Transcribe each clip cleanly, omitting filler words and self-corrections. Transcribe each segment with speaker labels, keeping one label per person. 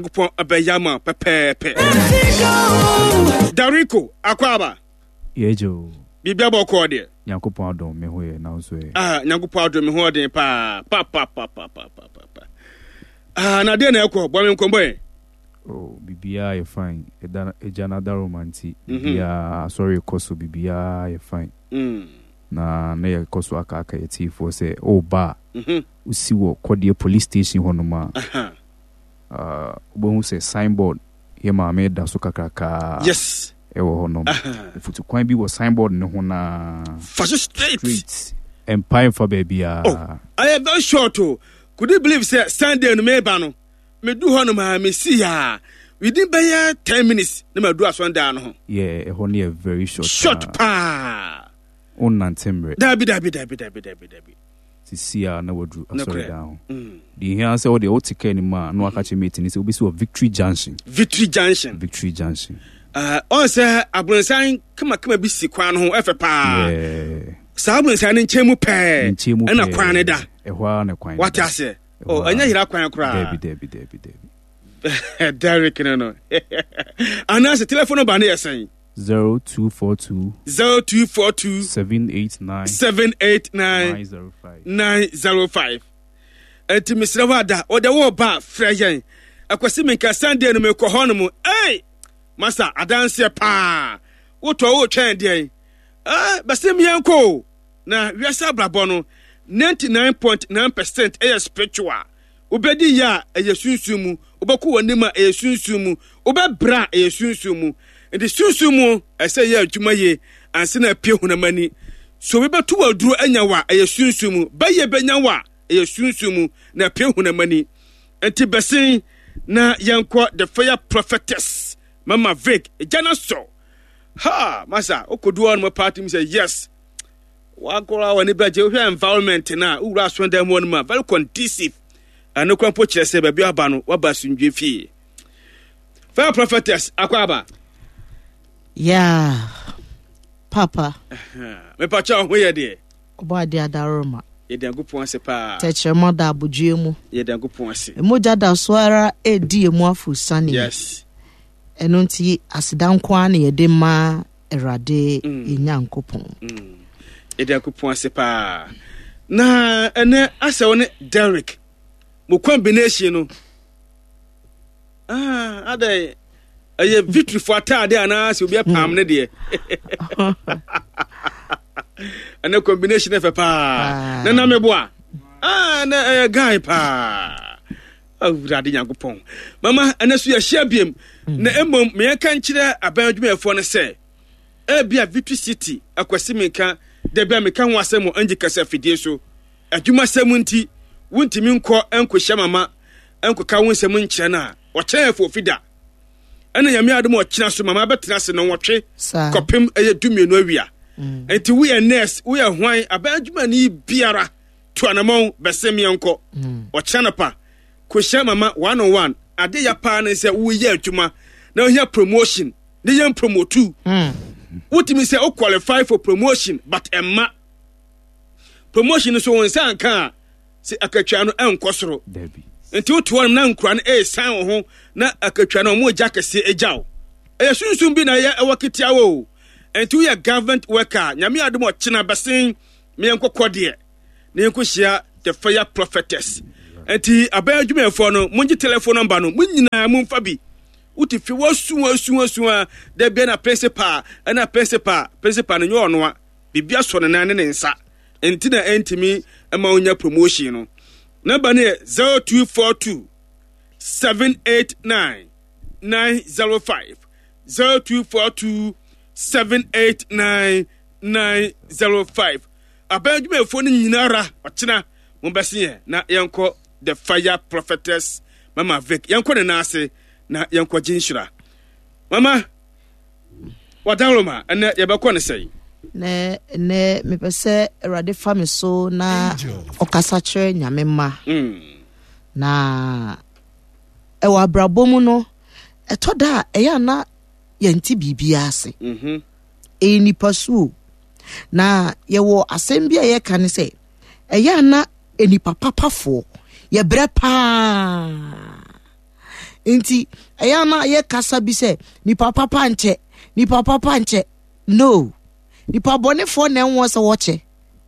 Speaker 1: Nyankopɔn bɛyɛ ama pɛpɛɛpɛ. Dariko, akwaaba.
Speaker 2: Yɛgye o.
Speaker 1: Biribi abɔ kɔɔ deɛ.
Speaker 2: Nyankopɔn adom me ho yɛ na nso ɛ.
Speaker 1: Ah, Nyankopɔn adom me ho ɔden paa. Pa pa pa pa pa pa pa. Ah, na deɛ na ɛkɔ bɔ me nkɔmmɔ ɛ.
Speaker 2: Oh, biribiara yɛ fine. Ɛda agya no adaroma nti, mhm. biribiara asɔre kɔ so, biribiara yɛ fine. Mm. Na na yɛkɔ so akaaka yɛ tiefoɔ sɛ, oh ba, mhm. wosi wɔ kɔdeɛ police station hɔnom a. Ah, wobɛhu sɛ signboard yɛ maame da so kakrakaa.
Speaker 1: Yes.
Speaker 2: Ɛwɔ hɔ nom. Mfutu kwan bi wɔ signboard no ho naa.
Speaker 1: Fa so straight.
Speaker 2: Straight. Mpae mfa baabiara.
Speaker 1: Oh, I am very short o. Could you believe sɛ Sunday no meba no, medu hɔ nom a mesi ya within bɛyɛ 10 minutes na madu asɔndan no ho.
Speaker 2: Yeah, ɛhɔ no yɛ very short.
Speaker 1: Short paa.
Speaker 2: Wonnante mmerɛ.
Speaker 1: Dabi, dabi, dabi, dabi, dabi, dabi.
Speaker 2: Sisi a na waduru asɔredan ho. Deɛ ehia sɛ wodeɛ wote kaa no mu a na waka kyerɛ mate no sɛ wobɛsi wɔ Victory Junction.
Speaker 1: Victory Junction.
Speaker 2: Victory Junction.
Speaker 1: Ɔn sɛ abronsan kamakama bi si kwan no ho, ɛfɛ paa. Saa abronsan no nkyɛn mu pɛɛ ɛna kwan no da.
Speaker 2: Ɛhɔ ara na kwan no da.
Speaker 1: Wate aseɛ? Oh, ɛnyɛ yera kwan koraa.
Speaker 2: Dabi, dabi, dabi, dabi.
Speaker 1: Derek no. Anaasɛ telephone number no yɛ sɛn?
Speaker 2: 0242.
Speaker 1: 0242.
Speaker 2: 789.
Speaker 1: 789.
Speaker 2: 905.
Speaker 1: 905. Nti mesrɛ wo ada wode wo ba frɛ yɛn. Akwasi menka Sunday no mekɔ hɔ no mu. Ei! Masa adanseɛ paa. Wotɔ wotwɛn deɛn? Eh, bɛsɛ meɛnkɔ o. Na wiase abrabɔ no 99.9% ɛyɛ spiritual. Wobɛdi yɛ a, ɛyɛ sunsum mu. Wobɛkɔ w'anim a, ɛyɛ sunsum mu. Wobɛbrɛ a, ɛyɛ sunsum mu. Nti sunsum mu, ɛsɛ yɛ adwuma yie ansa na apue honam ani. So obi bɛto w'aduro anya wo a, ɛyɛ sunsum mu. Bɛyɛ bɛnya wo a, ɛyɛ sunsum mu na apue honam ani. Nti bɛsen na yɛnkɔ The Fire Prophetess Mama Vic. Gya no asɔ. Ha! Masa, wokɔdu hɔ nom paa tumi sɛ yes. Wakora w'ani bɛgye wohwɛ environment no a wowura asɔredan mu hɔ no mu a very conducive. Ɛno kora mpo kyerɛ sɛ baabi aba no waba asomdwe fie. Fire prophetess akɔ aba.
Speaker 3: Yeah, papa.
Speaker 1: Mepakyɛ ho yɛ deɛ.
Speaker 3: Ɔbɔ ade adaroma.
Speaker 1: Yɛde Nyankopɔn ase paa.
Speaker 3: Tɛkyerɛma da abodwoeɛ mu.
Speaker 1: Yɛde Nyankopɔn ase.
Speaker 3: Mogya da so ara edi emu afurusane.
Speaker 1: Yes.
Speaker 3: Ɛno nti aseda nko ara na yɛde ma Awurade yɛn Nyankopɔn.
Speaker 1: Yɛde Nyankopɔn ase paa. Na ɛnɛ asɛ wo ne Derek mo combination no. Ah, adɛn ɛyɛ victory fo ataade anaasɛ obi apam ne deɛ. Ɛnɛ combination ɛfɛ paa. Na na meboa. Ah, na ɛyɛ guy paa. Awurade Nyankopɔn. Mama, ɛnɛ so yɛahyia biem. Na mmom, meyɛnka nkyerɛ aban adwumayɛfoɔ no sɛ, ebia Victory City, Akwasi menka, da bi a meka ho asɛm wɔ Angie kasa afidie so. Adwumasɛm nti, wontumi nkɔ nkɔhyia mama nkɔka wo nsɛm nkyerɛ no a, ɔkyena yɛ foofi da. Ɛna Nyame adom ɔkyena so mama bɛtena ase nnɔnwɔtwe kɔpem ɛyɛ 12 awia. Nti woyɛ nurse, woyɛ hwan, aban adwumani biara, Tu anamɔn bɛsen meɛ nkɔ. Ɔkyena anɔpa, kɔhyia mama one on one. Ade ya paa ne sɛ woyɛ adwuma na wohia promotion ne yɛn promotu. Wotumi sɛ wo qualify for promotion but ɛmma. Promotion no so wo nsa nka a sɛ akatua no ɛnkɔ soro. Nti wote hɔ nom na nkura no ɛresan wo ho na akatua no ɔmo gya kɛseɛ agya wo. Ɛyɛ sunsum bi na ɛyɛ ɛwɔ ketewa o. Nti woyɛ government worker Nyame adom ɔkyena bɛsen meɛnkɔ kɔ deɛ na yɛnkɔhyia The Fire Prophetess. Nti aban adwumayɛfoɔ no, mongye telephone number no, mo nyinaa momfa bi. Wote fie wasu asu asu a, da bia na principal, ɛna principal, principal no nyɛ ɔnoa. Biribi asɔ ne nan ne ne nsa. Nti na ɛntumi ma wonya promotion no. Number no yɛ 0242 789 905 0242 789 905. Aban adwumayɛfoɔ no nyinara ɔkyena mobɛse yɛn na yɛnkɔ The Fire Prophetess Mama Vic. Yɛnkɔ ne nan ase na yɛnkɔ gye nhyira. Mama, wadaroma ɛnɛ yɛbɛkɔ ne sɛn?
Speaker 3: Nɛ nɛ mepɛ sɛ Awurade fa me so na ɔkasa kyerɛ Nyame mma. Na ɛwɔ abrabɔ mu no, ɛtɔ da a ɛyɛ ana yɛnte biribiara ase. Ɛyɛ nipasu o. Na yɛwɔ asɛm bi a yɛka ne sɛ, ɛyɛ a na nnipa papafoɔ yɛbrɛ paa. Nti ɛyɛ a na yɛ kasa bi sɛ nipa papa nkyɛ, nipa papa nkyɛ. No. Nipa bɔnefoɔ na ɛwɔ sɛ wɔkyɛ.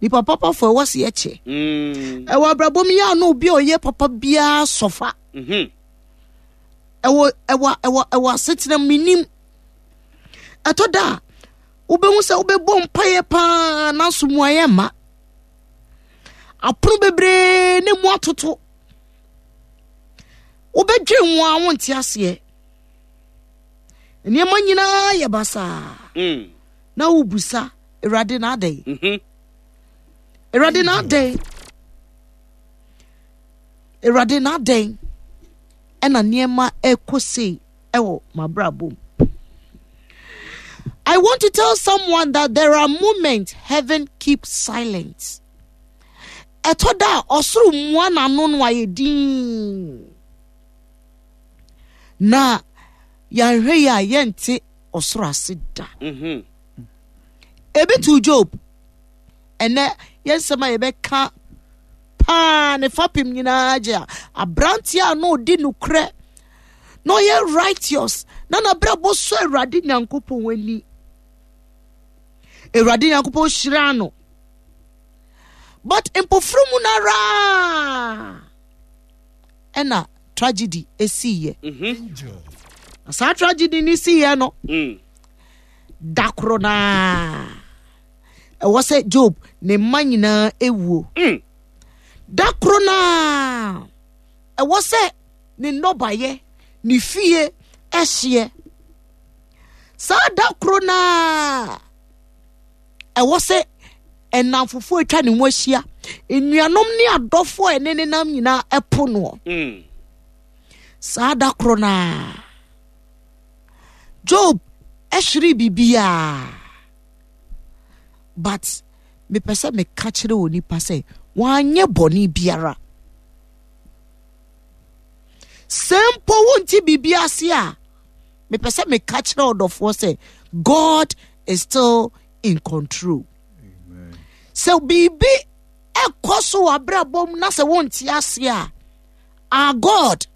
Speaker 3: Nipa papafoɔ ɛwɔ sɛ yɛkyɛ. Mm. Ɛwɔ abrabɔ mu yɛ a na obi a ɔyɛ papa biara sɔfa. Mm-hmm. Ɛwɔ ɛwɔ ɛwɔ ɛwɔ asetena menim. Ɛtɔ da a wobɛhu sɛ wobɛbɔ mpaeɛ paa nanso mmuaeɛ mma. Apono bebree ne mu atoto. Wobɛdwen ho a wonte aseɛ. Nneɛma nyinaa yɛ basaa. Mm. Na wobusa Awurade na adɛn? Mm-hmm. Awurade na adɛn? Awurade na adɛn? Ɛna nneɛma ɛkɔ sei ɛwɔ m'abrabɔ mu. I want to tell someone that there are moments heaven keeps silent. Ɛtɔ da a ɔsoro mua n'ano no ayɛ dinn. Na yɛanhwɛ yi a yɛnte ɔsoro ase da. Mm-hmm. Ebi to Job. Ɛnɛ yɛn nsɛm a yɛbɛka paa ne fapem nyinaa gye a aberanteɛ a na ɔdi nokorɛ na ɔyɛ righteous na n'abrabɔ sɔ Awurade Nyankopɔn ani. Awurade Nyankopɔn hyiraa no. But mpofiri mu no ara ɛna tragedy esiiɛ. Mhm. Na saa tragedy no siiɛ no, mm. da koro naa ɛwɔ sɛ Job ne mma nyinaa ewuo. Mm. Da koro naa ɛwɔ sɛ ne nnɔbaeɛ ne fie ɛhyeɛ. Saa da koro naa ɛwɔ sɛ nnamfofoɔ atwa ne ho ahyia nnuanom ne adɔfoɔ a ɛne ne nam nyinaa ɛpo noɔ mm. saa da koro naa Job ɛhwere biribiara but mepɛ sɛ meka kyerɛ onipa sɛ wanyɛ bɔne biara sɛ mpo wonte biribi ase a mepɛ sɛ meka kyerɛ ɔdɔfoɔ sɛ God is still in control sɛ biribi ɛkɔ so wɔ abrabɔ mu na sɛ wonte ase a our God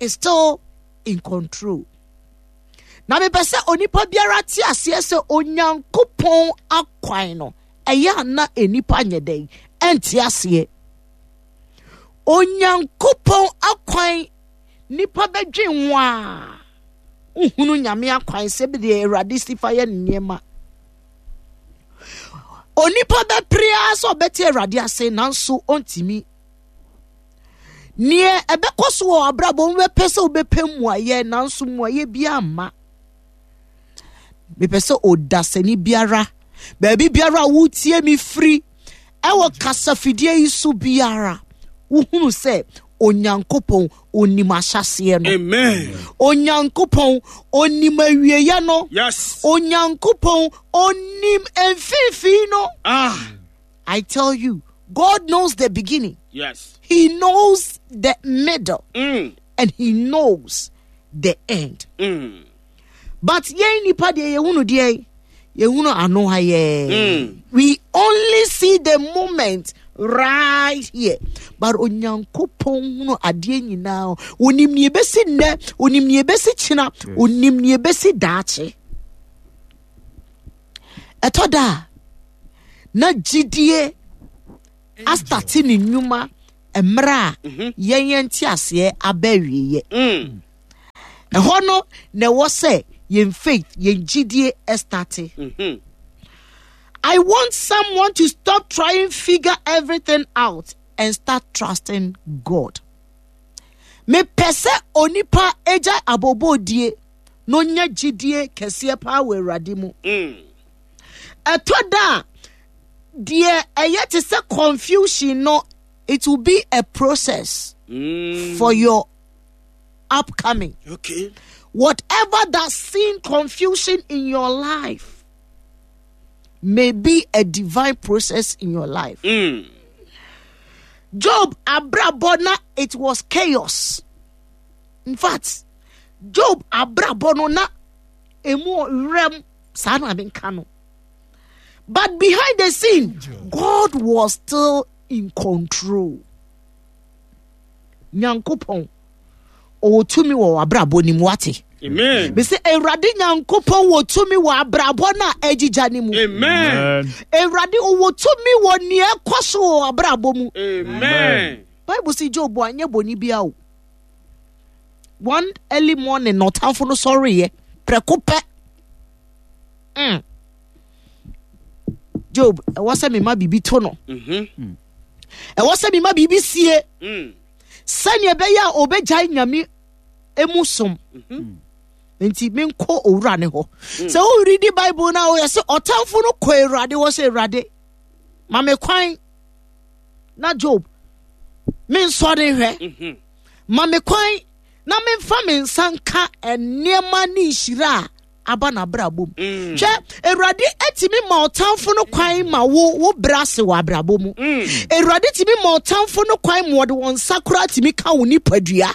Speaker 3: is still in control na mepɛ sɛ onipa biara te aseɛ sɛ Onyankopɔn akwan no ɛyɛ ana nnipa nyɛ dɛn ɛnte aseɛ Onyankopɔn akwan nipa bɛdwen ho a wohunu Nyame akwan sɛ bi deɛ Awurade si fa yɛ ne nneɛma onipa bɛpere ara sɛ ɔbɛte Awurade ase nanso ɔntumi Neɛ ɛbɛkɔ so wɔ abrabɔ mu bɛpɛ sɛ wobɛpɛ mmuayɛ nanso mmuayɛ biara mma. Mepɛ sɛ ɔdasani biara baabi biara a wotie me firi ɛwɔ kasafidie yi so biara wohunu sɛ Onyankopɔn onim ahyɛseɛ no.
Speaker 1: Amen.
Speaker 3: Onyankopɔn onim awieɛ no.
Speaker 1: Yes.
Speaker 3: Onyankopɔn onim mfimfini no.
Speaker 1: Ah.
Speaker 3: I tell you, God knows the beginning.
Speaker 1: Yes.
Speaker 3: He knows the middle.
Speaker 1: Mm.
Speaker 3: And he knows the end.
Speaker 1: Mm.
Speaker 3: But yɛn nipa deɛ yɛhunu deɛ yɛhunu ano ha yɛ.
Speaker 1: Mm.
Speaker 3: We only see the moment right here. But Onyankopɔn hunu adeɛ nyinaa. Onim nea ebesi nnɛ, onim nea ebesi kyena, onim nea ebesi daakye. Ɛtɔ da a, na gyidie astate ne nnwuma mmerɛ a mhm. yɛn yɛn nteaseɛ aba awieɛ.
Speaker 1: Mm.
Speaker 3: Ɛhɔ no na ɛwɔ sɛ yɛn faith, yɛn gyidie starte.
Speaker 1: Mhm.
Speaker 3: I want someone to stop trying figure everything out and start trusting God. Mepɛ sɛ onipa agya abobɔdie na ɔnya gyidie kɛseɛ paa wɔ Awurade mu.
Speaker 1: Mm.
Speaker 3: Ɛtɔ da a, deɛ ɛyɛ te sɛ confusion no, it will be a process
Speaker 1: mm.
Speaker 3: for your upcoming.
Speaker 1: Okay.
Speaker 3: Whatever that seem confusion in your life may be a divine process in your life.
Speaker 1: Mm.
Speaker 3: Job abrabɔ na it was chaos. In fact, Job abrabɔ no na emu werɛm saa na menka no. But behind the scene, God was still in control. Nyankopɔn. Ɔwɔ tumi wɔ w'abrabɔ no mu, wate?
Speaker 1: Amen.
Speaker 3: Mese Awurade Nyankopɔn wɔ tumi wɔ abrabɔ no a agyigya no mu.
Speaker 1: Amen.
Speaker 3: Awurade ɔwɔ tumi wɔ nea ɛkɔ so wɔ abrabɔ mu.
Speaker 1: Amen.
Speaker 3: Bible si Job anyɛ bɔne bia o. One early morning na ɔtamfo no sɔreeɛ prɛko pɛ. Job, ɛwɔ sɛ mema biribi to no. Ɛwɔ sɛ mema biribi sie. Sɛnea ɛbɛyɛ a ɔbɛgyae Nyame emu som. Nti menkɔ owura ne hɔ. Sɛ woredi Bible no a, woyɛ sɛ ɔtamfo no kɔ Awurade hɔ sɛ, Awurade, ma me kwan na Job mensɔre nhwɛ. Ma me kwan na memfa me nsa nka nneɛma ne nhyira a aba n'abrabɔ mu. Hwɛ, Awurade atumi ma ɔtamfo no kwan ma wo brɛ ase wɔ abrabɔ mu. Awurade tumi ma ɔtamfo no kwan ma ɔde wɔn nsa koraa tumi ka wo nipadua.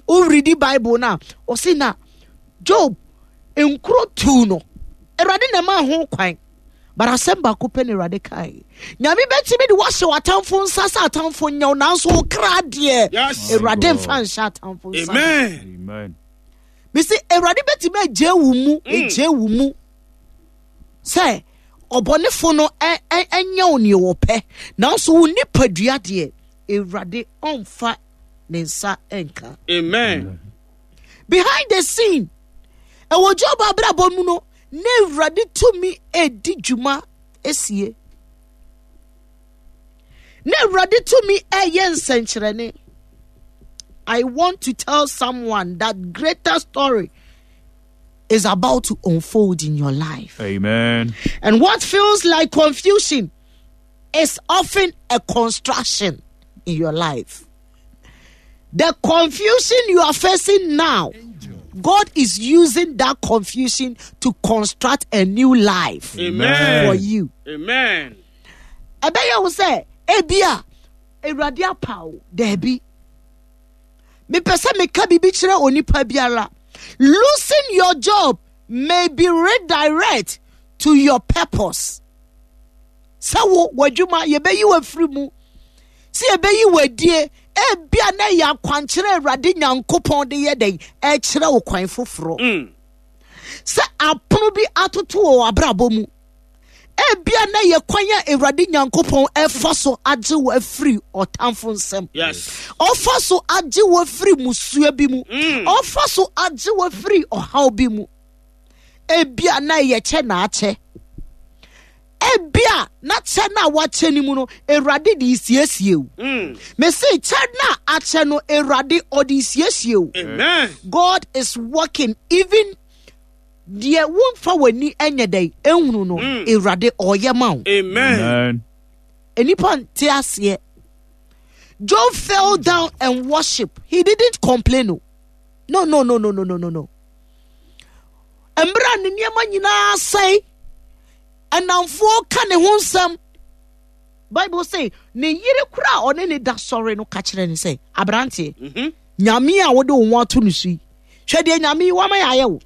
Speaker 3: Woredi Bible no a, ɔse na Job nkuro tuu no. Awurade na ɛmaa ho kwan. But asɛm baako pɛ na Awurade kae. Nyame bɛtumi de woahyɛ w'atamfo nsa sɛ atamfo nyɛ wo, nanso wo kra deɛ, Awurade mfa nhyɛ atamfo nsa.
Speaker 1: Amen.
Speaker 2: Amen.
Speaker 3: Mesi Awurade bɛtumi agye wo mu, agye wo mu sɛ ɔbɔnefo no ɛnyɛ wo nea wɔpɛ, nanso wo nipadua deɛ, Awurade ɔmfa ne nsa nka.
Speaker 1: Amen.
Speaker 3: Behind the scene, ɛwɔ Job abrabɔ mu no, na Awurade tumi edi dwuma esie. Na Awurade tumi ɛyɛ nsɛnkyerɛnne. I want to tell someone that greater story is about to unfold in your life.
Speaker 2: Amen.
Speaker 3: And what feels like confusion is often a construction in your life. The confusion you are facing now, God is using that confusion to construct a new life.
Speaker 1: Amen.
Speaker 3: For you.
Speaker 1: Amen.
Speaker 3: Ɛbɛyɛ wo sɛ ebia Awurade apa wo. Daabi. Mepɛ sɛ meka biribi kyerɛ onipa biara. Losing your job may be redirect to your purpose. Sɛ wo w'adwuma yɛbɛyi wo afiri mu, sɛ yɛbɛyi wo adie, ebia na ɛyɛ akwankyerɛ Awurade Nyankopɔn de yɛ dɛn ɛkyerɛ wo kwan foforɔ. Sɛ apono bi atoto wɔ w'abrabɔ mu, ebia na ɛyɛ kwan a Awurade Nyankopɔn ɛfa so agye wo afiri ɔtamfo nsam. Ɔfa so agye wo afiri musua bi mu. Ɔfa so agye wo afiri ɔhaw bi mu. Ebia na ɛyɛ kyɛ na akyɛ. Ebia na kyɛ na wakyɛ ne mu no, Awurade de siesie wo. Mese kyɛ na akyɛ no, Awurade ɔde siesie wo.
Speaker 1: Amen.
Speaker 3: God is working even deɛ womfa w'ani nyɛ dɛn ehunu no, Awurade ɔyɛ ma wo.
Speaker 1: Amen.
Speaker 2: Amen.
Speaker 3: Enipa nte aseɛ. Job fell down and worship. He didn't complain. No, no, no, no, no, no, no, no, no. Mmerɛ ne nneɛma nyinaa sɛe, ɛnamfoɔ ka ne ho nsɛm. Bible say ne yere kora a ɔne ne da sɔre no ka kyerɛ ne sɛ, aberanteɛ, Nyame a wode wo ho ato no so yi, hwɛ deɛ Nyame yi wama yɛ ayɛ wo.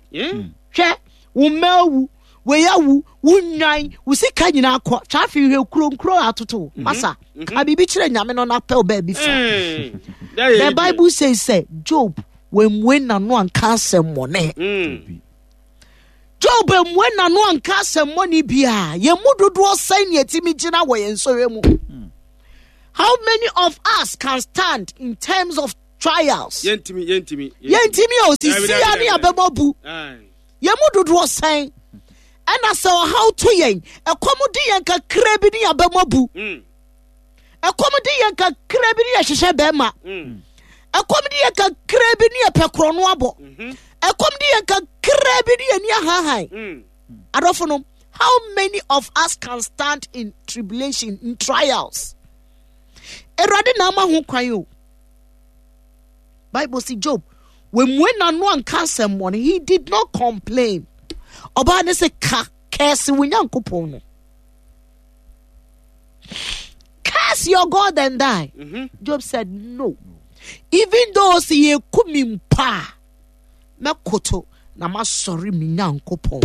Speaker 3: Hwɛ, wo mma awu, wei awu, wo nnwan, wo sika nyinaa kɔ. Hwɛ afei hwɛ kuro nkuro atoto wo. Masa, ka biribi kyerɛ Nyame no na pɛ wo baabi fa. The Bible says sɛ Job wemmue n'ano anka asɛmmɔne. Job emmue n'ano anka asɛmmɔne biara. Yɛn mu dodoɔ sɛn na yɛtumi gyina wɔ yɛn nsɔhwɛ mu? How many of us can stand in terms of trials?
Speaker 1: Yɛntumi, yɛntumi,
Speaker 3: Yɛntumi o,
Speaker 1: Dabi,
Speaker 3: sisi
Speaker 1: dabi,
Speaker 3: a ne
Speaker 1: dabi,
Speaker 3: yɛabɛbɔ bu.
Speaker 1: Aye.
Speaker 3: Yɛn mu dodoɔ sɛn ɛna sɛ ɔhaw to yɛn, ɛkɔm di yɛn kakra bi ne yɛabɛbɔ bu. Ɛkɔm di yɛn kakra bi ne yɛhwehwɛ bɛrima. Ɛkɔm di yɛn kakra bi ne yɛpɛ korɔno abɔ. Ɛkɔm di yɛn kakra bi ne yɛn ani ahahan. Adɔfo no, how many of us can stand in tribulation, in trials? Awurade na ama ho kwan o. Bible si Job, wemue n'ano anka asɛmmɔne. He did not complain. Ɔbaa ne sɛ ka kɛse wo Nyankopɔn no. Curse your God and die. Job said no. Even though si ye kumi mpa, mɛkoto na masɔre me Nyankopɔn.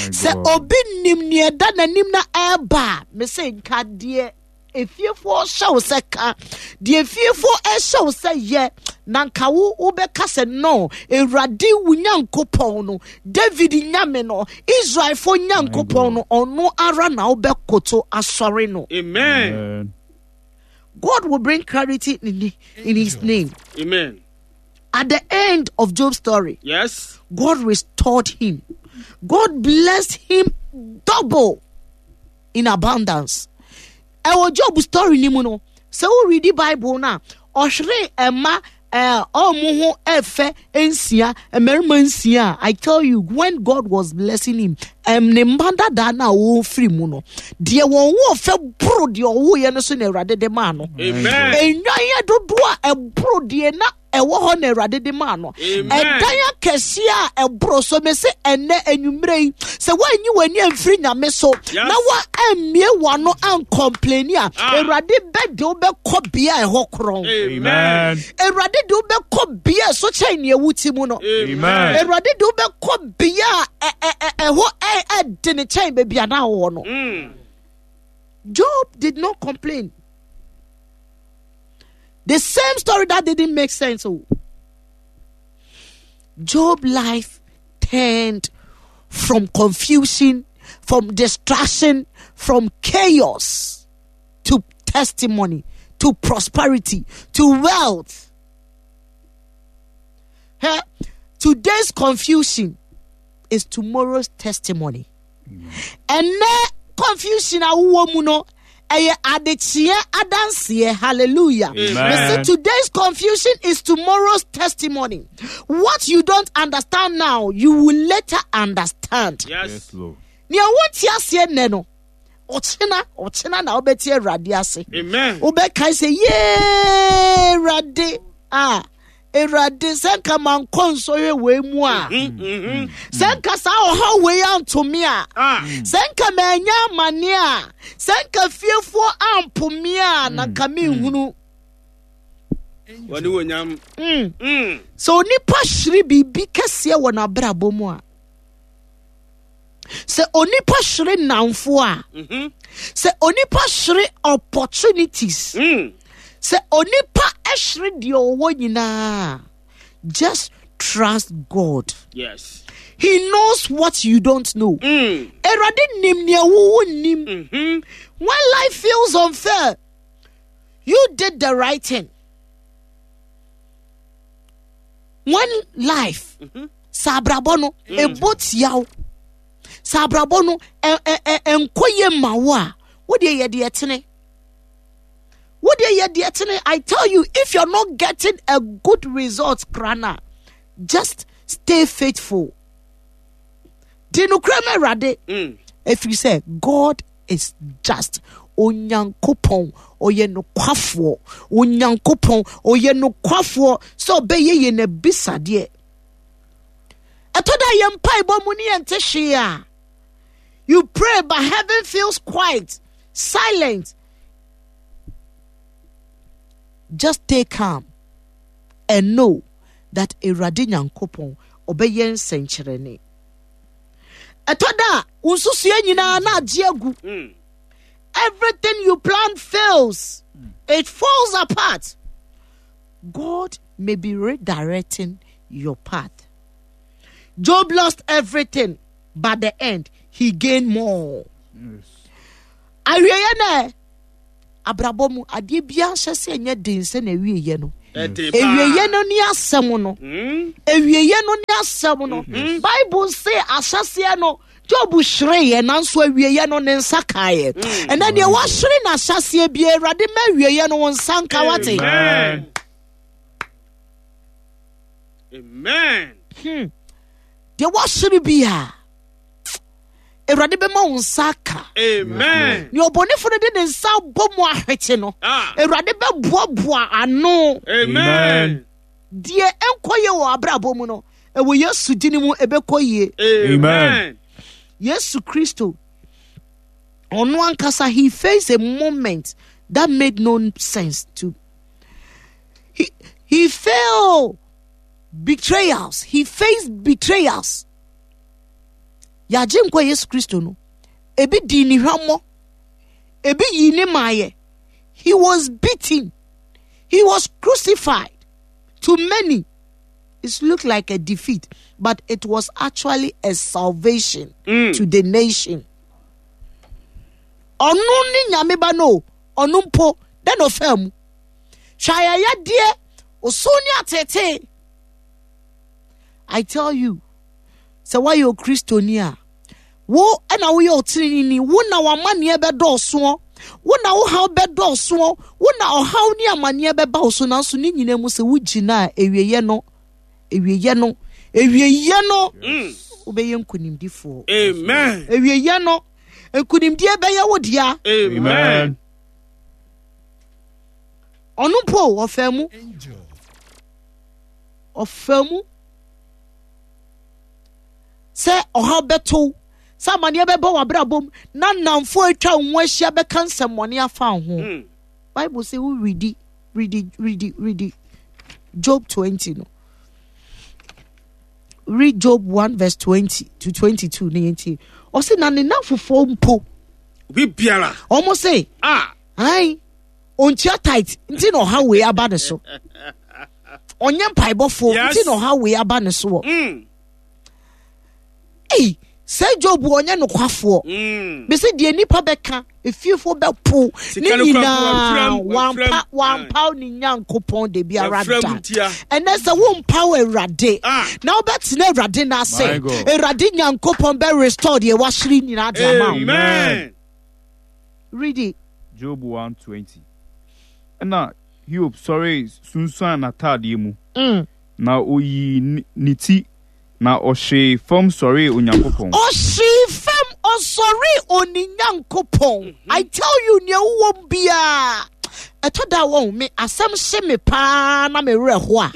Speaker 3: Sɛ obi nim nea ɛda n'anim na ɛreba a, mese nka deɛ. efiefoɔ hyɛ wo sɛ ka, deɛ efiefoɔ ɛhyɛ wo sɛ yɛ, na nka wo wobɛka sɛ no, Awurade wo Nyankopɔn no, David Nyame no, Israelfoɔ Nyankopɔn no, ɔno ara na wobɛkoto asɔre no.
Speaker 1: Amen.
Speaker 3: God will bring clarity in his name.
Speaker 1: Amen.
Speaker 3: At the end of Job's story, God restored him. God blessed him double in abundance. Ɛwɔ Job story ni mu no, sɛ wo read Bible no a, ɔhwere ɛma ɔmo ho ɛfɛ nsia, mmarima nsia. I tell you, when God was blessing him, ne mma dada na wɔfiri mu no, deɛ wɔn ho ɔfɛ boro deɛ ɔwoeɛ no so na Awurade de maa no.
Speaker 1: Amen.
Speaker 3: Nnwan yɛ dodoɔ a ɛboro deɛ na ɛwɔ hɔ na Awurade de maa no. Ɛdan akɛseɛ a ɛboro so, me se ɛnɛ anwummerɛ yi, sɛ woanyi w'ani amfiri Nyame so, na woammie w'ano ankɔmpleni a, Awurade bɛde wo bɛkɔ bea a ɛhɔ korɔn.
Speaker 1: Amen.
Speaker 3: Awurade de wo bɛkɔ bea a ɛso kyɛn nea wote mu no.
Speaker 1: Amen.
Speaker 3: Awurade de wo bɛkɔ bea a ɛhɔ ɛde ne kyɛn baabi a na wowɔ no. Job did not complain. The same story that didn't make sense. Oh. Job's life turned from confusion, from distraction, from chaos to testimony, to prosperity, to wealth. Hey, today's confusion is tomorrow's testimony. And now confusion a wowɔ mu no, ɛyɛ adekyeɛ adanseɛ. Hallelujah.
Speaker 2: Amen.
Speaker 3: Listen, today's confusion is tomorrow's testimony. What you don't understand now, you will later understand.
Speaker 1: Yes.
Speaker 2: Yes, Lord.
Speaker 3: Nea wonte aseɛ nnɛ no, ɔkyena na wobɛte Awurade ase.
Speaker 1: Amen.
Speaker 3: Wobɛkae sɛ, yee, Awurade, Awurade, sɛ nka mankɔ nsɔhwɛ wei mu a, sɛ nka saa ɔhaw wei anto me a, sɛ nka manya amane a, sɛ nka fiefoɔ ampo me a, na nka menhunu.
Speaker 1: Wɔne wɔ nyam.
Speaker 3: Sɛ onipa hyere biribi kɛseɛ wɔ n'abrabɔ mu a, sɛ onipa hyere nnamfo a, sɛ onipa hyere opportunities, sɛ onipa hyere deɛ ɔwɔ nyinaa, just trust God.
Speaker 1: Yes.
Speaker 3: He knows what you don't know. Awurade nim nea wo nim. When life feels unfair, you did the right thing. When life, sɛ abrabɔ no, ebo tia wo. Sɛ abrabɔ no, ɛnkɔ yie ma wo a, wo deɛ yɛ deɛ tene. Wo deɛ yɛ deɛ tene. I tell you, if you're not getting a good result, Krana, just stay faithful. Di nokorɛ ma Awurade. Ɛfiri sɛ, God is just. Onyankopɔn, ɔyɛ nokwafoɔ. Onyankopɔn, ɔyɛ nokwafoɔ sɛ ɔbɛyɛ yɛn abisadeɛ. Ɛtɔ da yɛn mpaebɔ mu ne yɛn te hwee a, you pray but heaven feels quiet, silent. Just stay calm and know that Awurade Nyankopɔn ɔbɛyɛ nsɛnkyerɛnne. Ɛtɔ da a, wo nsusuɛ nyinaa na agye agu. Everything you plan fails. It falls apart. God may be redirecting your path. Job lost everything, but the end, he gained more.
Speaker 2: Yes.
Speaker 3: Awieyɛ nɛ, abrabɔ mu, adeɛ biara nhyɛ sɛ ɛnyɛ den sɛ na awieyɛ no.
Speaker 1: Ɛden paa.
Speaker 3: Awieyɛ no ne asɛm no. Awieyɛ no ne asɛm no. Bible se ahyɛseɛ no, Job hwereeɛ, nanso awieyɛ no ne nsa kaeɛ. Ɛnɛ deɛ wahwere n'ahyɛseɛ biara, Awurade ma awieyɛ no wo nsa nka wate.
Speaker 1: Amen. Amen.
Speaker 3: Deɛ wahwere biara, Awurade bɛma wo nsa aka.
Speaker 1: Amen.
Speaker 3: Nea ɔbɔnefo no de ne nsa abɔ mu ahwete no, Awurade bɛboaboa ano.
Speaker 1: Amen.
Speaker 3: Deɛ ɛnkɔ yie wɔ abrabɔ mu no, ɛwɔ Yesu din mu ɛbɛkɔ yie.
Speaker 1: Amen.
Speaker 3: Yesu Kristo, ɔno ankasa, he faced a moment that made no sense to. He failed betrayals. He faced betrayals. Yagye nkwa Yesu Kristo no, ebi di ne hwammɔ, ebi yi ne maayɛ. He was beaten. He was crucified. To many, it looked like a defeat, but it was actually a salvation to the nation. Ɔno ne Nyame ba no, ɔno mpo, dɛn na ɔfaa mu? Hwɛ ayɛyɛdeɛ, osu ne atetee. I tell you, sɛ woayɛ Okristoni a, wo na woyɛ ɔteneneeni, wo na w'amanneɛ bɛdɔɔsoɔ, wo na wo haw bɛdɔɔsoɔ, wo na ɔhaw ne amanneɛ bɛba wo so, nanso ne nyinaa mu sɛ wogyina a, awieeɛ no, awieeɛ no, awieeɛ no, wobɛyɛ nkonimdifoɔ.
Speaker 1: Amen.
Speaker 3: Awieeɛ no, nkonimdie bɛyɛ wo dea.
Speaker 1: Amen.
Speaker 3: Ɔno mpo ɔfaa mu. Ɔfaa mu. Sɛ ɔhaw bɛtow, sɛ amanneɛ bɛba w'abrabɔ mu, na nnamfo a atwa wo ho ahyia bɛka nsɛmmɔne afa wo ho. Bible sɛ wo redi, redi, redi, redi. Job 20 no. Read Job 1 verse 20 to 22 ne yɛntie. Ɔse na ne nnamfofoɔ mpo.
Speaker 1: Obi biara.
Speaker 3: Ɔmo se.
Speaker 1: Ah.
Speaker 3: Ae. Ontua tight nti na ɔhaw wei aba ne so. Ɔnyɛ mpaebɔfoɔ nti na ɔhaw wei aba ne soɔ. Ei, sɛ Job ɔnyɛ nokwafoɔ. Bɛsɛ deɛ nipa bɛka, efiefoɔ bɛpo ne nyinaa wampa wampaw ne Nyankopɔn da biara da. Ɛnɛ sɛ wompaw Awurade na wobɛtena Awurade n'ase, Awurade Nyankopɔn bɛ restore deɛ wahyere nyinaa de ama wo.
Speaker 1: Amen.
Speaker 3: Read it.
Speaker 2: Job 1:20. Ɛnna Hiob sɔree sunsuan n'ataadeɛ mu, na ɔyii ne ti, na ɔhwee fam sɔree Onyankopɔn.
Speaker 3: Ɔhwee fam ɔsɔree oni Nyankopɔn. I tell you, nea wowɔ mu biara, ɛtɔ da wɔn me asɛm hye me paa na me werɛ ho a.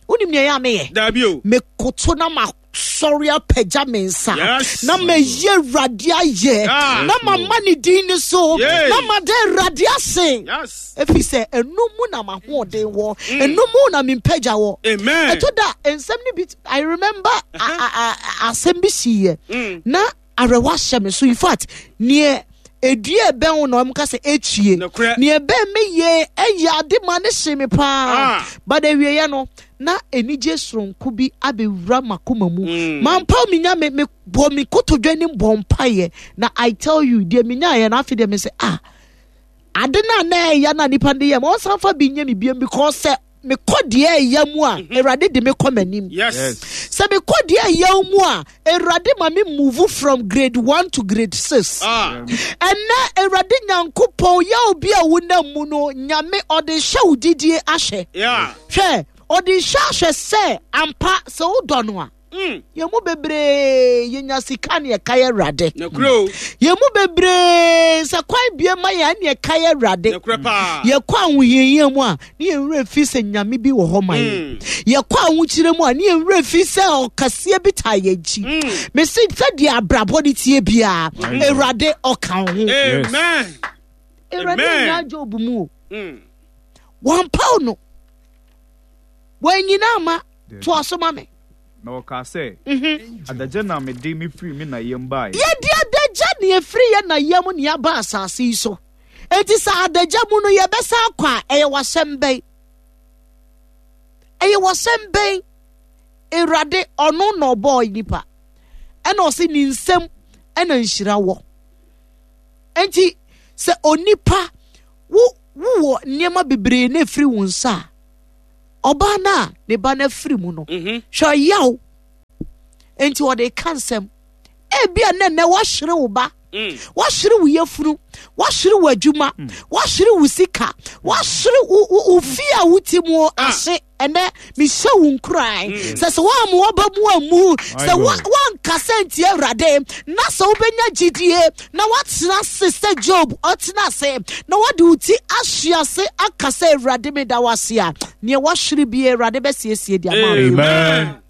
Speaker 3: Wonim nea ɛyɛ a meyɛ?
Speaker 1: Dabi o.
Speaker 3: Mekoto na ma sɔre apagya me nsa
Speaker 1: Yes.
Speaker 3: na mayi Awurade ayɛ
Speaker 1: Ah.
Speaker 3: na mama ne din ne so
Speaker 1: Yay.
Speaker 3: na mada Awurade ase
Speaker 1: Yes.
Speaker 3: ɛfiri sɛ ɛno mu na m'ahoɔden wɔ, ɛno mu na me mpagya wɔ.
Speaker 1: Amen.
Speaker 3: Ɛtɔ da nsɛm no bi, I remember asɛm bi siiɛ na awerɛhoɔ ahyɛ me so. In fact, neɛ edua ɛbɛn wo na wɔn ka sɛ ekyie.
Speaker 1: Nokorɛ.
Speaker 3: Neɛ ɛbɛn me yie ɛyɛ ade ma ne hye me paa. But awieɛ no na anigye soronko bi abɛwura m'akoma mu. Mampaw me nya me me bɔ me kotodwe anim bɔ mpaeɛ na I tell you deɛ menyaeɛ no afei deɛ me sɛ ah ade no a na ɛyɛ na nipa de yɛ ma ɔnsan fa bi nyɛ me biam because sɛ mekɔ deɛ ɛyɛ mu a Awurade de me kɔ m'anim.
Speaker 1: Yes.
Speaker 3: Sɛ mekɔ deɛ ɛyɛ mu a Awurade ma me move from grade 1 to grade 6. Ɛnɛ Awurade Nyankopɔn yɛ obi a wonam mu no Nyame ɔde hyɛ wo didie ahyɛ. Hwɛ ɔde hyɛ ahyɛ sɛ ampa sɛ wodɔ no a. Yɛn mu bebree yɛnya sika ne ɛka yɛ Awurade. Yɛn mu bebree sɛ kwan bie ma yɛn ne ɛka yɛ Awurade. Yɛkɔ ahohiahia mu a ne yɛn werɛ fi sɛ Nyame bi wɔ hɔ ma yɛn. Yɛkɔ ahokyere mu a ne yɛn werɛ fi sɛ ɔkɛseɛ bi taa yɛn akyi. Mesi sɛdeɛ abrabɔ ne tie biara Awurade ɔka wo ho.
Speaker 1: Amen.
Speaker 3: Awurade nyaa Job mu o. Wɔmpaw no. Wɔanyina ama. Toa so ma me.
Speaker 2: Na ɔkaa sɛ, Adagya na mede mefiri me na yam baeɛ.
Speaker 3: Yɛde adagya na ɛfiri yɛn na yam na yɛaba asase yi so. Enti sɛ adagya mu no yɛbɛsan akɔ a, ɛyɛ w'asɛm bɛn? Ɛyɛ w'asɛm bɛn? Awurade, ɔno na ɔbɔɔ nipa. Ɛna ɔse ne nsam ɛna nhyira wɔ. Enti sɛ onipa wo wowɔ nneɛma bebree na ɛfiri wo nsa a, ɔbaa no a ne ba no afiri mu no, hwɛ ɔyaw nti ɔde ka nsɛm. Ebia na nnɛ woahyere wo ba, woahyere wo yafunu, woahyere wo adwuma, woahyere wo sika, woahyere wo fie a wote mu ase. Ɛnɛ mehyɛ wo nkuran sɛ woamma w'aba mu ammu, sɛ woankasa ntia Awurade, na sɛ wobɛnya gyidie na woatena ase sɛ Job ɔtena ase na woade wo ti ahwe ase aka sɛ Awurade meda wo ase a, neɛ woahwere bia Awurade bɛsiesie de ama wo.
Speaker 1: Amen.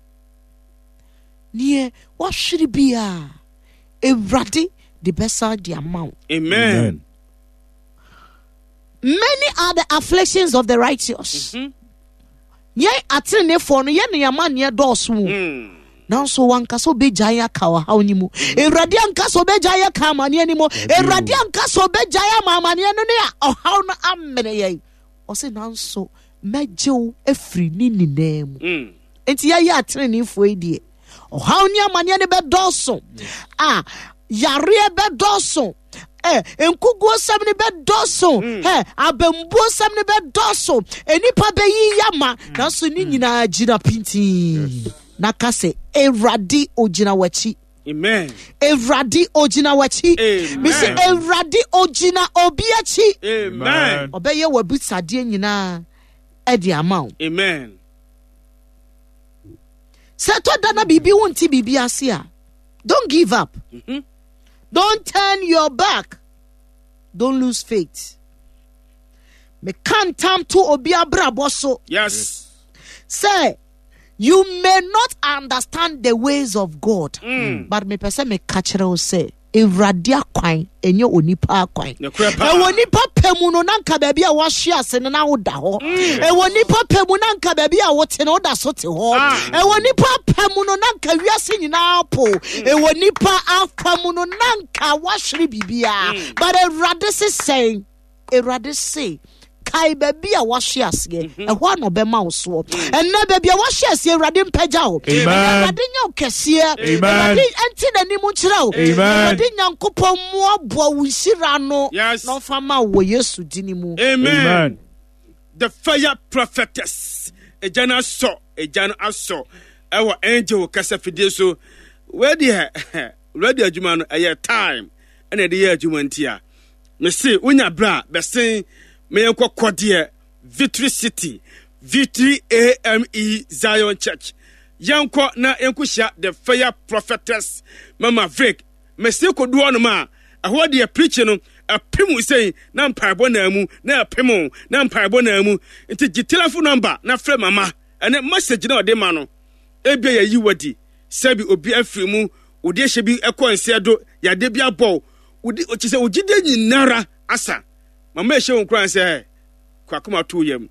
Speaker 3: Neɛ woahwere bia Awurade de bɛsan de ama wo.
Speaker 1: Amen.
Speaker 3: Many are the afflictions of the righteous. Yɛn atenenefoɔ no, yɛn nneɛma nneɛ dɔɔso o. Nanso wanka sɛ ɔbɛgyae aka ɔhaw no mu. Awurade anka sɛ ɔbɛgyae aka amanneɛ no mu. Awurade anka sɛ ɔbɛgyae ama amanneɛ no ne ɔhaw no amene yɛn. Ɔse nanso mɛgye wo afiri ne nyinaa mu. Mm. Enti yɛyɛ ateneneefoɔ yi deɛ, ɔhaw ne amanneɛ no bɛdɔɔso. A yareɛ bɛdɔɔso. Eh, nkuguosɛm no bɛdɔɔso. Mm. Eh, abambuosɛm no bɛdɔɔso. Nnipa bɛyi yama. Mm. Nanso ne mm. nyinaa gyina pintinn. Na ka sɛ, Awurade ogyina w'akyi.
Speaker 1: Amen.
Speaker 3: Awurade ogyina w'akyi.
Speaker 1: Amen.
Speaker 3: Mesi Awurade ogyina obi akyi.
Speaker 1: Amen.
Speaker 3: Ɔbɛyɛ w'abisadeɛ nyinaa ɛde ama wo.
Speaker 1: Amen.
Speaker 3: Sɛ ɛtɔ da na biribi wo nte biribi ase a, don't give up. Mm -hmm. Don't turn your back. Don't lose faith. Meka ntam to obi abrabɔ so.
Speaker 1: Yes.
Speaker 3: Sɛ you may not understand the ways of God, mm. but mepɛ sɛ meka kyerɛ wo sɛ Awurade akwan ɛnyɛ onipa akwan. Ɛwɔ nipa pɛ mu no na nka baabi a wɔahwe ase no na woda hɔ. Mm. Ɛwɔ nipa pɛ mu na nka baabi a wote no woda so te hɔ. Ah. Ɛwɔ nipa pɛ mu no na nka wiase nyinaa po. Mm. Ɛwɔ nipa afa mu no na nka woahwere biribiara. Mm. But Awurade se sɛn? Awurade se, kae baabi a wahwe aseɛ, mhm. ɛhɔ a na ɔbɛma wo soɔ. Mm. Ɛnnɛ baabi a wahwe aseɛ, Awurade mpagya wo. Awurade nyɛ wo kɛseɛ. Awurade nte n'anim nkyerɛ wo. Awurade Nyankopɔn mmoaboa wo nhyira no na ɔmfa ma wo wɔ Yesu din mu.
Speaker 1: Amen. The fire prophetess. Egya no asɔ, egya no asɔ ɛwɔ angel kasa fidie so. Wei deɛ, radio adwuma no ɛyɛ time ɛna ɛde yɛ adwuma ntia. Mese wonya berɛ a bɛsen ma yɛnkɔ kɔdeɛ Victory City, Victory AME Zion Church. Yɛnkɔ na yɛnkɔhyia The Fire Prophetess Mama Vic. Mese kɔdu hɔnom a, ɛhɔ deɛ preaching no ɛpem wo sei na mpaebɔ naa mu na ɛpem wo na mpaebɔ naa mu. Nti gye telephone number na frɛ mama ɛnɛ message na ɔde ma no. Ebia yɛyi wadi sɛbi obi afiri mu, wode ahyɛ bi ɛkɔ nsɛ do, yadeɛ bi abɔ wo. Wodi kyerɛ sɛ wo gyidie nyinara asa. Mama ɛhyɛ wo nkuran sɛ kɔ akoma to yam.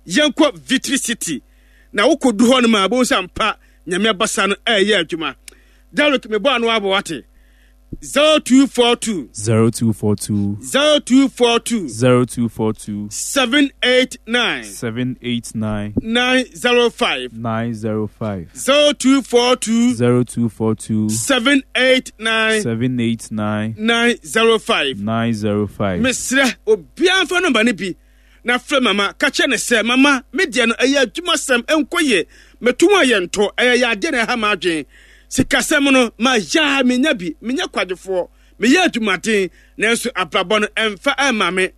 Speaker 1: Yɛnkɔ Victory City na wokɔdu hɔ no ma wobɛhu sɛ ampa Nyame abasa no ɛreyɛ adwuma. Derek mebɔ ano abɔ wate. 0242.
Speaker 2: 0242.
Speaker 1: 0242.
Speaker 2: 0242.
Speaker 1: 789.
Speaker 2: 789.
Speaker 1: 905.
Speaker 2: 905.
Speaker 1: 0242.
Speaker 2: 0242.
Speaker 1: 789.
Speaker 2: 789.
Speaker 1: 905.
Speaker 2: 905.
Speaker 1: Mesrɛ obiara mfa nɔmba no bi na frɛ mama ka kyerɛ no sɛ mama me deɛ no ɛyɛ adwumasɛm ɛnkɔ yie meto mu a yɛntɔ ɛyɛ yadeɛ na ɛha m'adwen sikasɛm no ma yaa menya bi menyɛ kwadwofoɔ meyɛ adwumaden nanso abrabɔ no ɛmfa ɛmma me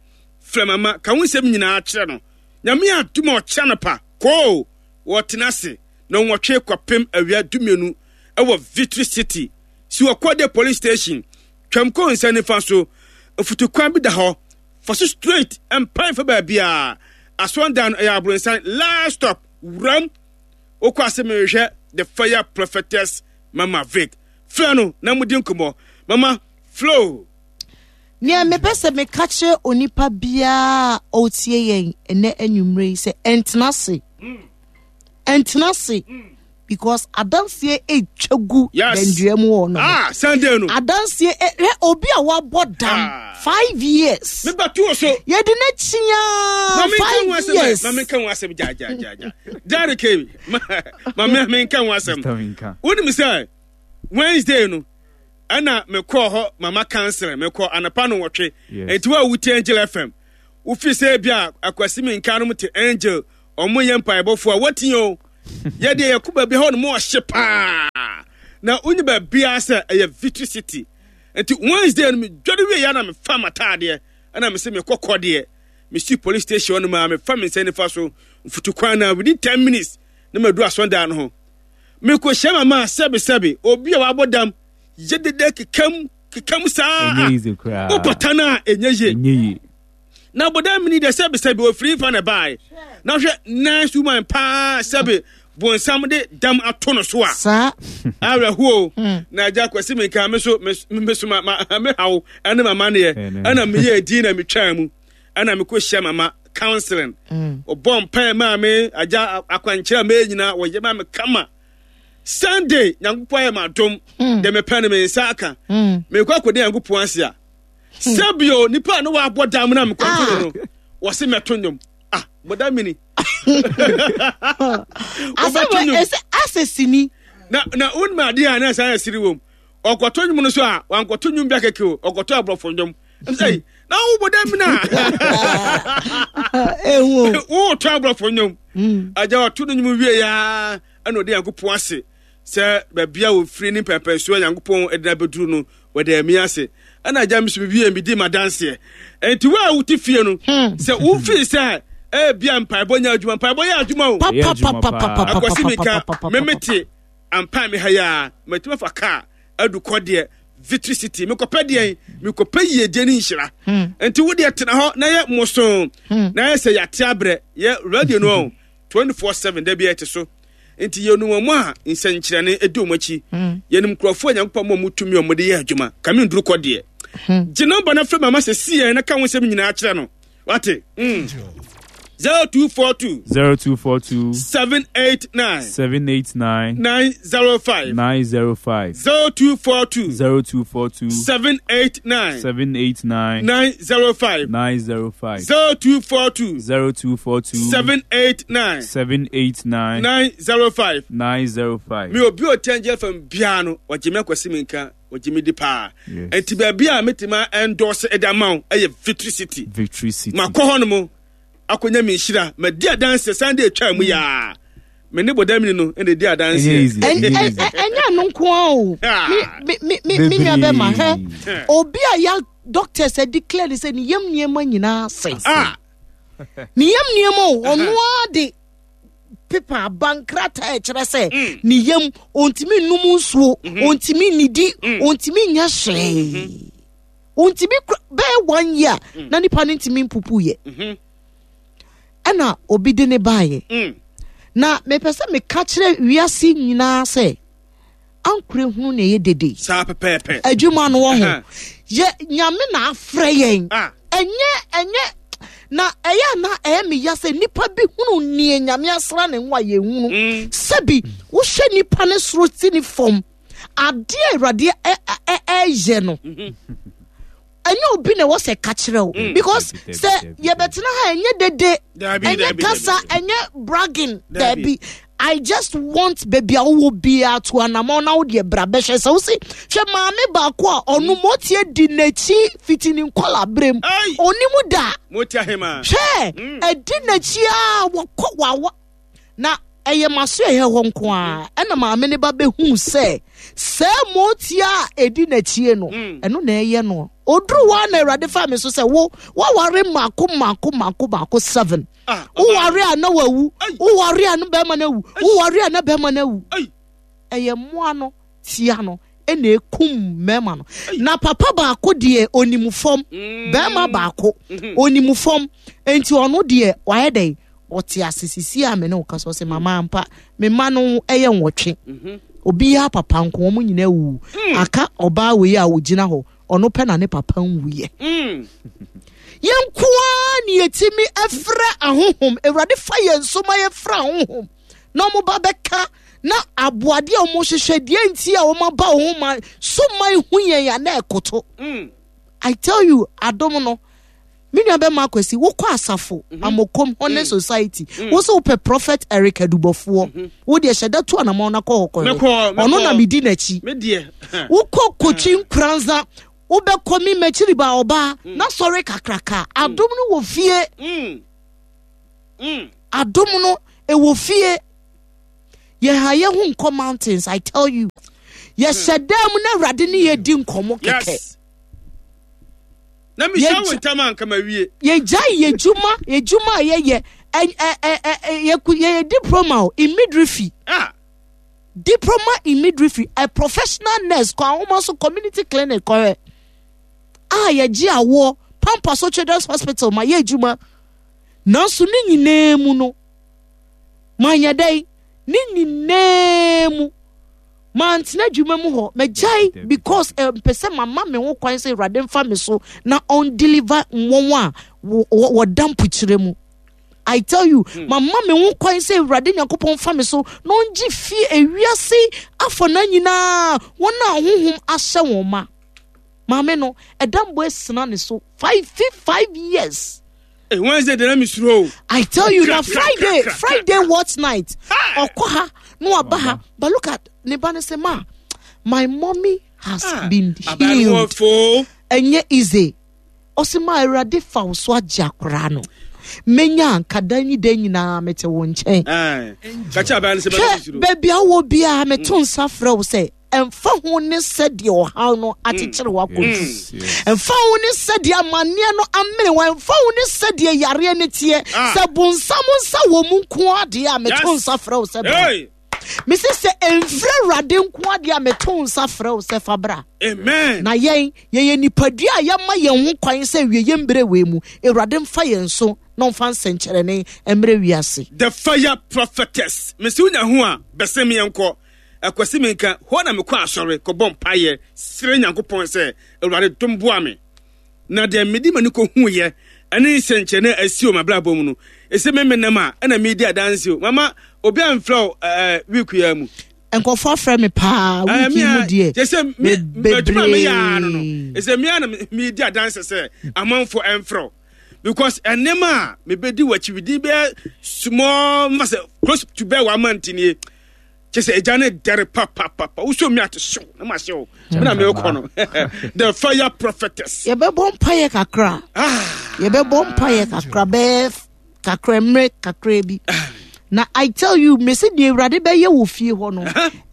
Speaker 1: frɛ mama ka wo nsɛm nyinaa kyerɛ no nyame adom a ɔkyɛ anɔpa koo wɔtena ase na wɔtwe kɔpem awia dumienu ɛwɔ Victory City si wɔkɔ police station twam kɔ nsa nifa so mfutukwan bi da hɔ Fa so straight mpae fa baabiara. Asɔndan no ɛyɛ abronsan last stop wuram. Wokɔ ase mehwehwɛ the fire prophetess Mama Vic. Frɛ no na mudi nkɔmmɔ. Mama flow.
Speaker 3: Nea mepɛ sɛ meka kyerɛ onipa biara a ɔretie yɛn ɛnɛ anwummere yi sɛ ɛntena ase. Ɛntena ase. Because adanseɛ ɛtwa gu dandua mu hɔ no.
Speaker 1: Ah, Sunday no.
Speaker 3: Adanseɛ hwɛ obi a wabɔ dam ah. 5 years.
Speaker 1: Mebɛto so.
Speaker 3: Yɛde n'akyi 5 years.
Speaker 1: Ma menka ho asɛm gya gya gya gya. Derek ma menka ho asɛm. Wonim sɛ Wednesday no ɛna mekɔɔ hɔ mama council mekɔ anapa no wɔtwe. Enti wo a wotie Angel FM wofi sɛ bi a akwasi menka no te Angel ɔmo yɛ mpaebɔfoɔ a wɔte o yɛ deɛ yɛkɔ baabi hɔ nom ɔhye paa na wonyi baabiara sɛ ɛyɛ Victory City nti Wednesday no medware wie ya na mefa m'ataadeɛ ɛna mese mekɔ kɔ deɛ mesi police station hɔ nom a mefa me nsa nifa so mfutukwan na within 10 minutes na madu asɔndan no ho mekɔhyia mama sɛbesɛbe obi a wabɔ dam yɛ dede kekam kekam saa wopata no a ɛnyɛ yie na bɔda mini deɛ sɛbe sɛbe ofiri nfa na ɛbaeɛ na hwɛ nice woman paa sɛbe bonsam de dam ato no so a
Speaker 3: saa
Speaker 1: awerɛhoɔ hmm. na agya kwasi mi nka me so me so ma ma me haw ɛne mama neɛ ɛna meyɛ edi na metwaa mu ɛna mekɔ hyia mama counseling hmm. ɔbɔ mpae maa me agya akwankyerɛ a mɛyɛ nyinaa wɔyɛ maa me kama. Sunday Nyankopɔn ayɛ m'adom hmm. deɛ mepɛ no me nsa aka hmm. mekɔ akɔda Nyankopɔn ase a hmm. sɛbio nipa a ne waabɔ dam no a mekɔto no no wɔse mɛto nnwom ah bɔda mini
Speaker 3: wobɛto nnwom asɛ sini
Speaker 1: na na wonim adeɛ a na ɛsan yɛ siri wom ɔkɔto nnwom no so a wankɔto nnwom bi akɛkɛ o ɔkɔto aborɔfo nnwom sɛ na wobɔ dam no a wotɔ aborɔfo nnwom agya ɔto no nnwom wie yaa ɛna ɔde Nyankopɔn ase sɛ baabi a wɔfiri ne mpɛmpɛnsoɔ a Nyankopɔn de no abɛduru no, wɔde ami ase. Ɛna agya me so mewie medi m'adanseɛ. Enti wo a wote fie no, hmm. sɛ wofii sɛ ebia mpaebɔ nyɛ adwuma, mpaebɔ yɛ adwuma o. Akwasi mika memete ampa me ha yi a, matumi afa kaa adu kɔ deɛ Victory City. Mekɔpɛ deɛn? Mekɔpɛ yiedie ne nhyira. Hmm. Enti wo deɛ tena hɔ na yɛ mmoso hmm. na yɛ sɛ yɛate abrɛ yɛ radio no 24/7 da bi ɛte so. Nti yɛnim wɔn a nsɛnkyerɛnne di wɔn akyi. Hmm. Yɛnim nkurɔfoɔ a Nyankopɔn ma wɔn tumi a wɔde yɛ adwuma. Kame nduru kɔ deɛ. Hmm. Gye nɔmba no frɛ mama sɛ siɛ na ka ho nsɛm nyinaa kyerɛ no. Wate? Mm. 0242
Speaker 2: 0242
Speaker 1: 789
Speaker 2: 789
Speaker 1: 905
Speaker 2: 905
Speaker 1: 0242
Speaker 2: 0242
Speaker 1: 789
Speaker 2: 789
Speaker 1: 905
Speaker 2: 905
Speaker 1: 0242
Speaker 2: 0242
Speaker 1: 789
Speaker 2: 789
Speaker 1: 905
Speaker 2: 905
Speaker 1: Me obi o tiangye fam biara no wɔgye me akwasi me nka wɔgye me di paa nti baabi a metumi endorse ɛde ama wo ɛyɛ Victory City.
Speaker 2: Victory City
Speaker 1: makɔ hɔ nom akɔnya me nhyira madi adanse Sunday atwa mu yaa me ne bɔdamini no ɛna ɛdi adanseɛ.
Speaker 3: Ɛnyɛ ɛno nko ara o me nua bɛma hɛ obi a ya doctors declare ne sɛ ne yam nneɛma nyinaa sɛe ah. Ne yam nneɛma o ɔno ara de pepa aba nkrataa ɛkyerɛ sɛ mm. ne yam ɔntumi nnum nsuo mm-hmm. ɔntumi nnidi mm. ɔntumi nyɛ hwee mm-hmm. ɔntumi bɛyɛ one year mm. na nipa no ntumi mpupu yɛ mm-hmm. ɛna obi de ne baayɛ na mepɛ sɛ meka kyerɛ wiase nyinaa sɛ ankorɛ hunu na ɛyɛ dede.
Speaker 1: Saa pɛpɛɛpɛ.
Speaker 3: Adwuma no wɔ ho. Yɛ nyame na afrɛ yɛn. Ah. Ɛnyɛ ɛnyɛ na ɛyɛ na ɛyɛ me ya sɛ nipa bi hunu nie nyame asra ne ho a yɛhunu. Mm. Sɛbi wohwɛ nipa ne soro si ne fam adeɛ awurade ɛyɛ no. Mm-hmm. Ɛnyɛ obi na ɛwɔ sɛ ka kyerɛ wo mm. because sɛ yɛbɛtena ha ɛnyɛ dede ɛnyɛ kasa ɛnyɛ bragging daabi I just want baabi a wowɔ biara to anamɔ na wodeɛ bra bɛhwɛ sɛ wo se hwɛ maame baako a ɔno mm. motie di n'akyi fiti ne nkɔla berɛ mu ɔnim da hwɛ mm. ɛdi n'akyi a wɔkɔ wawa Na ɛyɛ m'asoɛeɛ hɔ nko ara ɛna maame no ba bɛhuu sɛ saa mootia a ɛdi n'akyie no mm. ɛno na ɛyɛ no ɔduru hɔ a na awurade fa me so sɛ wo woaware mmaako mmaako mmaako mmaako seven ah, woware a na wawu woware a na bɛrima no awu woware a na bɛrima no awu ɛyɛ mmoa no tia no ɛna ekum mmarima no na papa baako deɛ onim fam mm. bɛrima baako mm-hmm. onim fam nti ɔno deɛ wayɛ dɛn ɔte ase sisi a me ne wo kasa ɔsɛ mama ampa me mma no ɛyɛ nwɔtwe mhm. obiara papa nko wɔn nyinaa wu mm. aka ɔbaa wei a ogyina hɔ ɔno pɛ na ne papa nwuyɛ mm. yɛn nkoa ne yɛtumi ɛfrɛ ahohom awurade fa yɛn so ma yɛfrɛ ahohom na wɔn ba bɛka na aboadeɛ a wɔhwehwɛ deɛ nti a wɔn aba wɔn ma so ma ehu yɛn a na ɛkoto mm. I tell you adom no Me nua bɛma Akwasi, wokɔ asafo, mm -hmm. Amokom, Honest mm. Society, mm. wo sɛ wopɛ Prophet Eric Adubɔfoɔ, mm -hmm. wo deɛ hyɛ da tu anamɔn na kɔ hɔ kɔhwɛ. Ɔno na medi n'akyi. Wokɔ Kotwi mm. Nkuranza, wobɛkɔ me m'akyiri ba ɔbaa, mm. na sɔre kakraka. Mm. Adom no wɔ fie. Mm. Mm. Adom no ɛwɔ fie. Yɛha yɛ ho nkɔ mountains, I tell you. Yɛhyɛ mm. dan mu na Awurade ne yɛ di nkɔmmɔ kɛkɛ.
Speaker 1: Yes. Na mehyia wo ntam a anka mawie.
Speaker 3: Yɛgyae yɛ dwuma, yɛ dwuma a yɛyɛ, yɛyɛ diploma o, in midwifery.
Speaker 1: Ah.
Speaker 3: Diploma in midwifery, a professional nurse, kɔ ahoma so community clinic kɔhwɛ. A yɛgye awoɔ, Pampa so Children's Hospital ma yɛ adwuma. Nanso ne nyinaa mu no, manyɛ dɛn? Ne nyinaa mu. Mantena adwuma mu hɔ. Magyae because eh, mpɛ sɛ mama me ho kwan sɛ Awurade mfa me so na ɔn deliver wɔn a wɔda mpokyerɛ mu. I tell you, mama me ho kwan sɛ Awurade Nyankopɔn fa me so na ɔngye fie ewiase afɔna nyinaa wɔn a honhom ahyɛ wɔn ma. Maame no, ɛdambɔ asina ne so 5 years.
Speaker 1: Hey, Wednesday de na mi suro o.
Speaker 3: I tell you, na Friday, Friday watch night. Ɔkɔ ha, no aba ha. But look at ne ba ne sɛ ma, my mommy has been healed. Ɛnyɛ easy. Ɔsi ma Awurade fa wo so agye akwaraa no. Menya nkada nyi da nyinaa mete wo nkyɛn. Hwɛ baabi a wɔ biara meto nsa frɛ wo sɛ ɛmfa ho ne sɛdeɛ ɔhaw no akyekyere wakɔdu, ɛmfa ho ne sɛdeɛ amanneɛ no amene wa, ɛmfa ho ne sɛdeɛ yareɛ no teɛ, sɛ bonsam nsa wɔ mu nko adeɛ a, meto nsa frɛ wo sɛ bra. Mesi sɛ ɛmfiri Awurade nko adeɛ a, meto nsa frɛ wo sɛ fa bra.
Speaker 1: Amen.
Speaker 3: Na yɛn yɛyɛ nipadua a yɛma yɛn ho kwan sɛ wie yɛn mmerɛ wei mu Awurade mfa yɛn so na ɔmfa nsɛnkyerɛnne mmerɛ wiase.
Speaker 1: The Fire Prophetess, mesi wonya ho a bɛsɛ meɛnkɔ akwasi menka hɔ na mekɔ asɔre kɔbɔ mpayɛ srɛ Nyankopɔn sɛ Awurade dom boa me na deɛ mede m'ani kɔhuiɛ ɛne nsɛnkyerɛnne a asi wɔ m'abrabɔ mu no, ɛsɛ me menam a ɛna medi adanse o. Mama, obi amfrɛ wo week yi mu?
Speaker 3: Nkɔfoɔ afrɛ me paa week yi mu deɛ.
Speaker 1: Kyɛ sɛ adwuma a meyɛ no, ɛsɛ mea na medi adanse sɛ amanfoɔ ɛmfrɛ wo because ɛnneɛma a mebɛdi w'akyi within bɛyɛ small mfa sɛ close to bɛyɛ 1 month nie, kyɛ sɛ agya ne dɛre papapapa wosɔ mi ate hyew na ma hyew me na mekɔ no. The Fire Prophetess.
Speaker 3: Yɛbɛbɔ mpayɛ kakra. Yɛbɛbɔ mpayɛ kakra, bɛyɛ kakra, mmerɛ kakra bi na I tell you, mese deɛ Awurade bɛyɛ wɔ fie hɔ no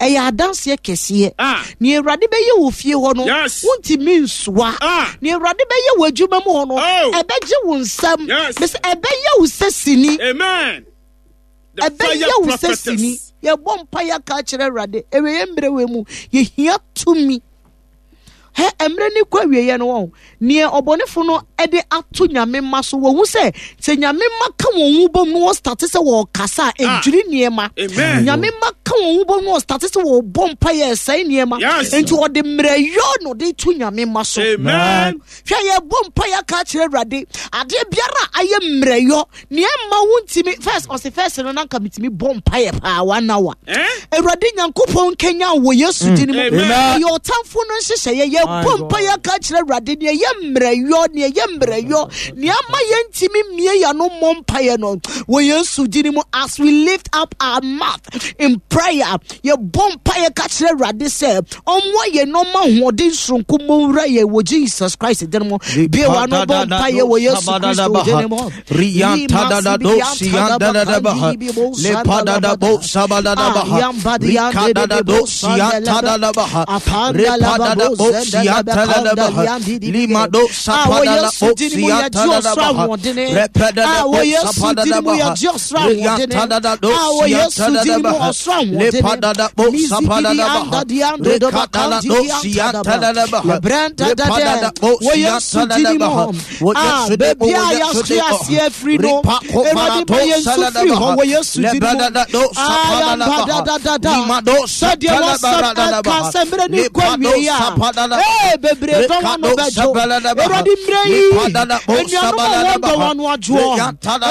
Speaker 3: ɛyɛ adanseɛ kɛseɛ. Nea Awurade bɛyɛ wɔ fie hɔ no, wontumi nsoa. Nea Awurade bɛyɛ wɔ adwuma mu hɔ no, ɛbɛgye wo nsam. Mese ɛbɛyɛ wo sɛ sini.
Speaker 1: Amen.
Speaker 3: Ɛbɛyɛ wo sɛ sini. Yɛbɔ mpa yɛaka akyerɛ Awurade ɛwɛyɛ mmerɛ wɔ mu, yɛhia tumi. Hɛ, mmerɛ ne kɔ awieɛ no, wɔn neɛ ɔbɔnefo no de ato Nyame ma so, wɔhu sɛ Nyame ma ka wɔn ho bom no, wɔ start sɛ wɔkasa a ɛdwiri nneɛma. Nyame ma ka wɔn ho bom no, wɔ start sɛ wɔbɔ mpa yɛ ɛsɛe nneɛma. Nti ɔde mmerɛyɔ no de to Nyame ma so.
Speaker 1: Amen.
Speaker 3: Hwɛ, yɛbɔ mpa yɛaka akyerɛ Awurade, adeɛ biara a ayɛ mmerɛyɔ nea ɛma wo ntumi. First ɔse first no nanka metumi bɔ mpayɛ paa 1 hour.
Speaker 1: Eh?
Speaker 3: Awurade Nyankopɔn nkenya wɔ Yesu din mu.
Speaker 1: Amen.
Speaker 3: Ɛyɛ ɔtamfo no nhyehyɛeɛ. Yɛbɔ mpa yɛaka akyerɛ Awurade nea ɛyɛ mmerɛyɔ, nea ɛyɛ mmerɛyɔ, nea ama yɛntumi mmie yɛano mmɔ mpayɛ no wɔ Yesu din mu. As we lift up our mouth in prayer, yɛbɔ mpa yɛka kyerɛ Awurade sɛ ɔmmoa yɛn na ɔma ahoɔden soronko mmɔ nwura yɛn wɔ Jesus Christ din mu. Bie wa no bɔ mpa yɛ wɔ Yesu Kristo din mu. Wɔ Yesu din mu, yɛgye ɔsoro ahoɔdene. Wɔ Yesu din mu, yɛgye ɔsoro ahoɔdene. Wɔ Yesu din mu, ɔsoro ahoɔdene. Mizigidi anda diando do bakandi dianta lebrenta dade wɔ Yesu din mu. Baabi a yɛahwe aseɛ afiri no, Awurade ma yɛn nso firi hɔ wɔ Yesu din mu. Ayambadadadada, sɛdeɛ wɔsɛm ɛka sɛ mmerɛ ne kɔ awie a ee bebree dɔn ano bɛdwo. Awurade, mmerɛ yi anuanom a wɔn dɔ wɔn ano adwoɔ.